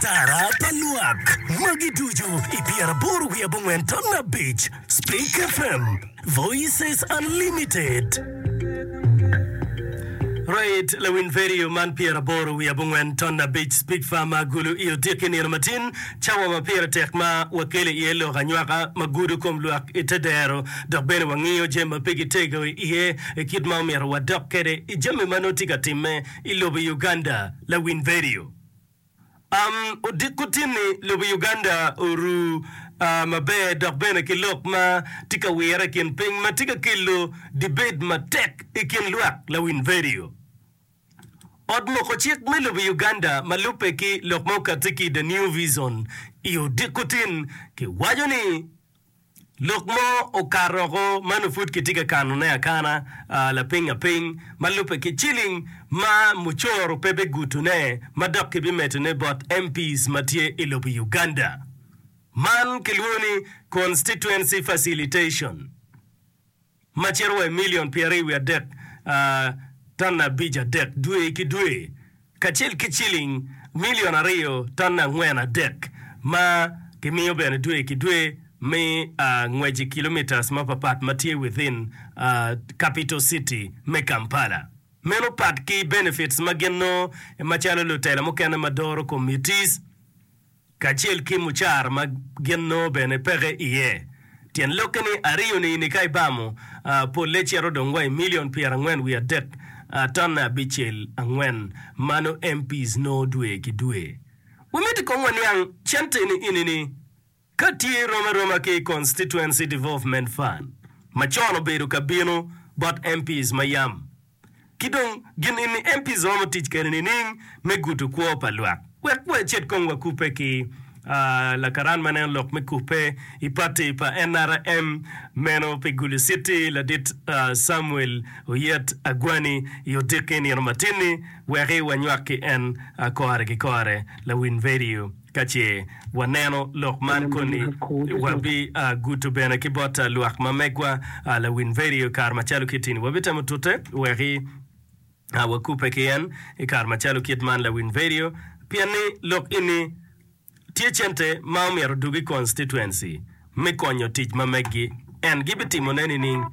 Atara pa lwak magi ducu i pyeraboro wiye abongwen ton abic Spik FM, Voices Unlimited. Right, lawiny vedio man pyeraboro wiye abongwen ton abic Spik Farm Agulu i odiki nino matin, cawa ma pire tek ma wakelo iye lok anywaka ma gudo kom lwak i te dero dok bene wangiyo jami ma pe gitego iye i kit ma omyero wadok kwede i jami ma nongo tye ka timme i lobo Uganda. Lawiny vedio. Am odiko tin-ni, lobo Uganda oru maber dok bene ki lok ma tye ka wire i kin piny ma tye ka kelo debate matek i kin lwak lawiny vedio. Ot moko cik me lobo Uganda ma lubbe ki lok ma okatti ki The New Vision i odiko tin kiwaco ni Lok mo okato oko ma nongo pud kitye ka kanone akana lapiny apiny ma lubbe ki ciling ma mucoro pe bigutone ma dok kibimedone bot MPs ma tye i lobo Uganda. Man kilwongo ni Constituency Facilitation. ma cito wa i milion pyeraryo wiye adek ton 53 dwe ki dwe, kacel ki ciling milion aryo ton 43 ma kimiyo bene dwe ki dwe me ngwec i kilometres mapapat ma tye within capital city me Kampala. Meno pat ki benefits ma gin nongo macalo lutela mukene ma doro committees. kacel ki mucara ma gin nongo bene peke iye. Tyen lokke ni ariyoni-ni ka ibamo, polle cito dong wa i milion pyerangwen wiye adek tonne abicel angwen ma nongo MPs nongo dwe ki dwe. Wamiti kong waniang cente-ni ini-ni ka tye rom aroma ki Constituency Development Fund ma con obedo ka bino bot MPs ma yam. Ki dong, gin eni MPs romo tic kwede nining me gudo kwo pa lwak? Wek wacit kong wakubbe ki lakaran ma neno lok me kubbe i pati pa NRM meno pi Gulu City, Ladit Samuel Oyet Agwani i odiki nino matin-ni weki wanywak ki en kore ki kore. Lawiny vedio. Ka ce waneno lok man koni, wabiguto bene ki bot lwak ma megwa lawiny vedio i kare macalo kit-ti-ni. Wabitemo tute wek wakubbe ki en i kare macalo kit man lawiny vedio, pien ni lok eni tye cente ma omyero odug i constituency me konyo tic ma meggi. En gibitimone nining?